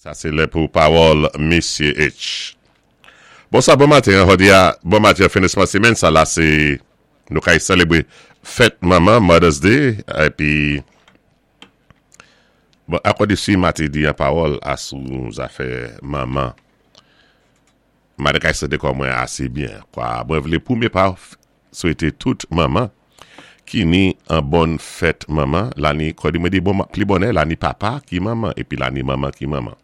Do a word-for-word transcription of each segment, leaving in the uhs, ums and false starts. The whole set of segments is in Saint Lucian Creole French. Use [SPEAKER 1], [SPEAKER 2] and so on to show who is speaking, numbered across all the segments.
[SPEAKER 1] Sa sé lè pou pawòl Misye H. Bon sa, bon maten, jòdi a, bon maten, finisman sémèn sa la, sé nou kay sélébwé fèt manman, Mother's Day, épi bon, akòdi si ma té di an pawòl asou zafè manman, ma té kay santi kò mwen asé byen, kwa. Mwen vlé pwémyé pa swété tout manman ki ni an bon fèt manman, la ni, kòdi mwen di bon, pli bonè, la ni papa ki manman, épi la ni manman ki manman.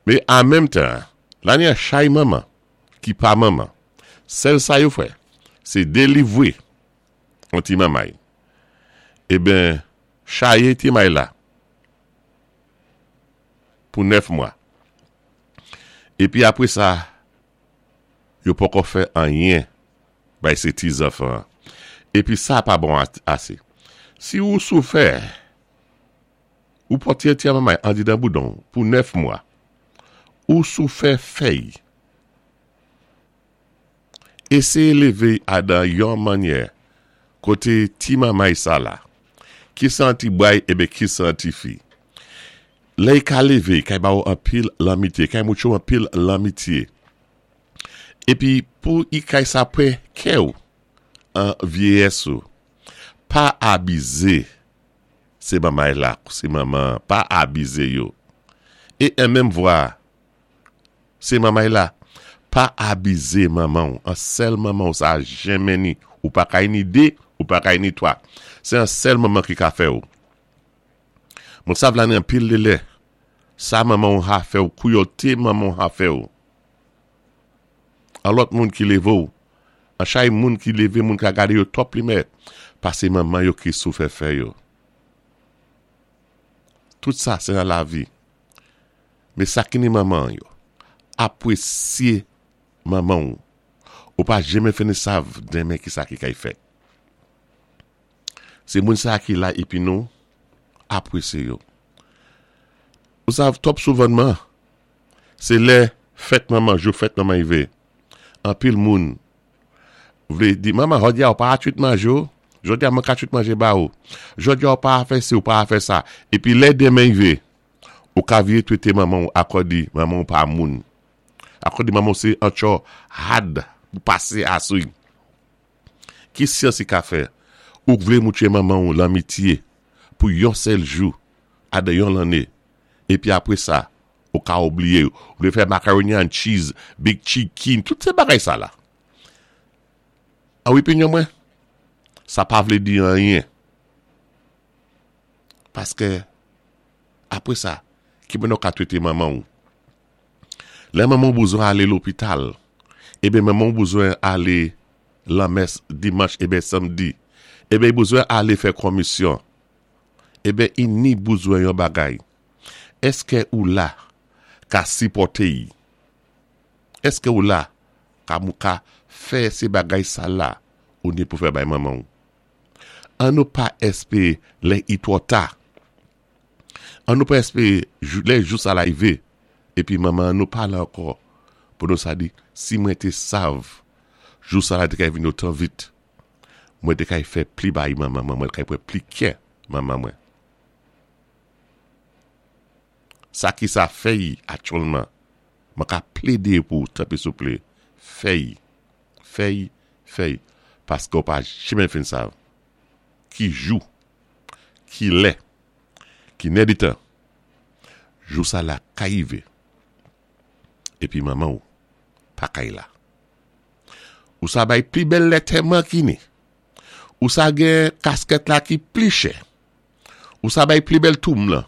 [SPEAKER 1] Mé an menm tan, la ni an chay manman ki pa manman. Sèl sa yo fè, sé délivwé an ti manmay. Eben, chayé ti may la pou nèf mwa. Épi apwé sa, yo poko fè anyen bay sé ti zanfan. Épi sa pa bon asé. Si ou soufè, ou pòté ti manmay andidan boudon pou nèf mwa, ou soufè fèy, éséyé lévé adan yon mannyè koté ti manmay sa la, ki sé an ti bway ébé ki sé an ti fi. Lè i ka lévé, kay ba ou anpil lanmityé, kay moutwé ou anpil lanmityé. Épi pou i kay sa pwan kè ou an vyéyès ou, pa abizé sé manmay la, sé manman, pa abizé yo. É an menm vwa, sé manmay la, pa abizé manman ou, an sèl manman ou sa jenmen ni, ou pa kay ni dé, ou pa kay ni twa. Sé an sèl manman ki ka fè ou. Mwen sav la ni anpil dé lè, sa manman ou ha fè ou, kouyoté manman ou ha fè ou. An lòt moun ki lévé ou, an chay moun ki lévé moun ka gadé yo twò plimè, pasé manman yo ki soufè fè yo. Tout sa, sé nan lavi. Mé sa ki ni manman yo, apwésyé manman ou. Ou pa jenmen fini sav denmen ki sa ki kay fèt. Sé moun sa ki la épi nou apwésyé yo. Ou sav twòp souvanman, sé lè fèt manman, jou fèt manman yivé. Anpil moun vlé di, "Manman, jòdi a ou pa twit manjé ou, jòdi a mwen ka twit manjé ba ou. Jòdi a ou pa fè si, ou pa fè sa." Épi lè denmen yivé, ou ka vyé twété manman ou akòdi manman ou pa moun. Akòdi manman ou sé an tcho had pou pasé asou. Ki syans i ka fè? Ou vlé moutwé manman ou lanmityé pou yon sèl jou adan yon lanné. Épi apwé sa, ou ka oubliyé. Ou vlé fè macaroni and cheese, big chicken, tout sé bagay sa la. An opinyon mwen, sa pa vlé di anyen. Paské apwé sa, ki mwen nou ka twété manman ou? Lè manman ou bezwen alé lopital, ébé manman ou bezwen alé lanmès dimanch ébé samdi, ébé bezwen alé fè komisyon, ébé i ni bezwen yon bagay. Èské ou la ka sipòté i? Èské ou la ka mou ka fè sé bagay sa la ou ni pou fè bay manman ou? An nou pa èspéwé lè i twò ta. An nou pa èspéwé lè jou sa la yivé, épi manman nou pa la ankò, pou nou sa di, "Si mwen té sav, jou sa la té kay vini otan vit, mwen té kay fè pli bay manman mwen, mwen kay pwan pli kè manman mwen." Sa ki sa fè yi aktyèlman, mwen ka plédé pou tanpwi souplé, fè yi, fè yi, fè yi, paské ou pa jenmen fin sav. Ki jou, ki lè, ki nè di tan, jou sa la ka yivé, épi manman ou pa kay la. Ou sa bay pli bèl lètèman ki ni, ou sa gen kaskèt la ki pli chè, ou sa bay pli bèl toum lan.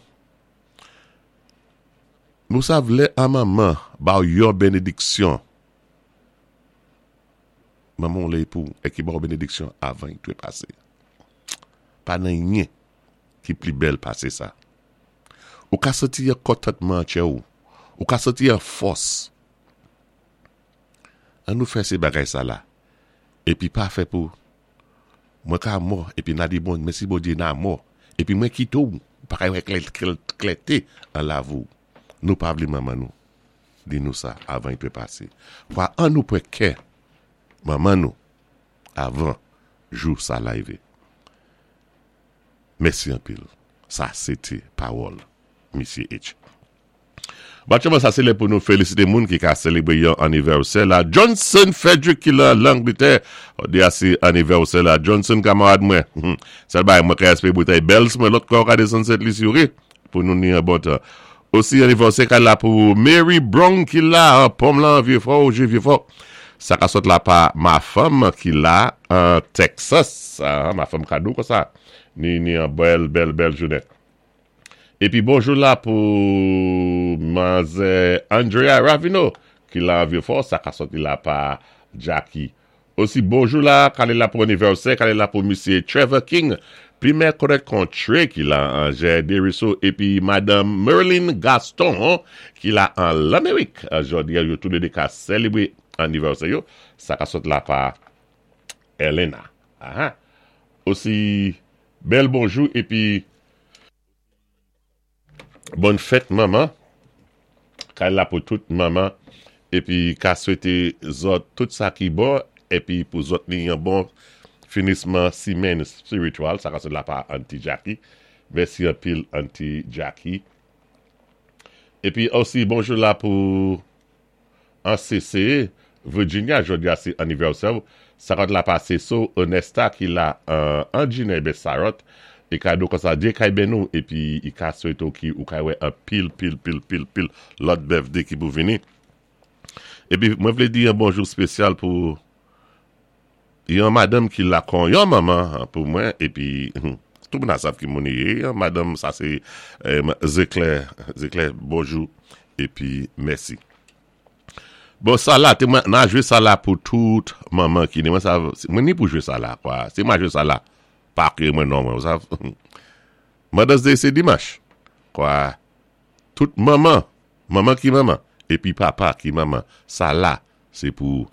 [SPEAKER 1] Nou sav lè an manman ba ou yon bénédiksyon. Manman lè pou e ki ba ou bénédiksyon avan i dwé pasé. Pa nan yen ki pli bèl pasé sa. Ou ka santi yon kontantman tchè ou. Ou ka santi yon fòs. An nou fè sé bagay sa la. Épi pa fè pou mwen ka mò, épi na di bon, mèsi Bondyé na mò. Épi mwen kité ou, pa kay wè klèté an lavi ou. Nou pa vlé manman nou. Di nou sa avan i dwé pasé. Kwa an nou pwan kè manman nou avan jou sa la yivé. Mèsi anpil. Sa sé té pawòl Misye H. Batyaman sa sé lè pou nou félisité moun ki ka sélébré yon anivèsè la. Johnson Frederick ki la Langletè. Jòdi-a sé anivèsè la. Johnson kamarad mwen. Sèl bagay mwen ka èspéwé boutèy Bell's mwen lòt kwa ka désann Sent Lisi wé pou nou ni an bon tan. Osi anivèsè ka la pou Mary Brown ki la an Pòm lan Vieux-Fort, ou Vieux-Fort. Sa ka sot la pa ma fanm ki la an Texas. Ah, ma fanm kado kon sa. Ni, ni an bèl, bèl, bèl jounen. Épi bonjou la pou manzè Andrea Ravino ki la an Vieux-Fort, sa ka soti la pa Jackie. Osi bonjou la, kale la pou anivèsè, kale la pou Misye Trevor King, pi mè konèt kon Trey ki la an Desruisseaux, épi Madanm Merlin Gaston ki la an Lamérik. Jòdi yo tou lé dé ka sélébré anivèsè yo, sa ka sot la pa Elena. Aha. Osi bèl bonjou épi bòn fèt manman. Kay la pou tout manman épi ka swété zòt tout sa ki bon épi pou zòt ni yon bon finisman simenn espirityèl, sa ka sot la pa Auntie Jackie. Mèsi anpil Auntie Jackie. Épi osi bonjou la pou an C C Virginia, jòdi a sé anivèsè. Sa ka la pa so Onesta ki la an Gine Sarot é kado kon sa Dye kay ben nou épi i ka swété ki ou kay wè an pil pil pil pil pil lòt birthday ki pou vini. Épi mwen vlé di yon bonjou spésyal pou yon madanm ki la kon yon manman pou mwen épi tout moun a sav ki moun yé. Yon madanm sa sé Zeklè, Zeklè bonjou épi mèsi. Bon sa la, té mwen nan jwé sa la pou tout manman ki ni mwen sa mwen ni pou jwé sa la kwa. Si mwen jwé sa la pa kwé mwen non mwen, sav. Mother's Day sé dimanch. Kwa tout manman, manman ki manman épi papa ki manman, sa la sé pou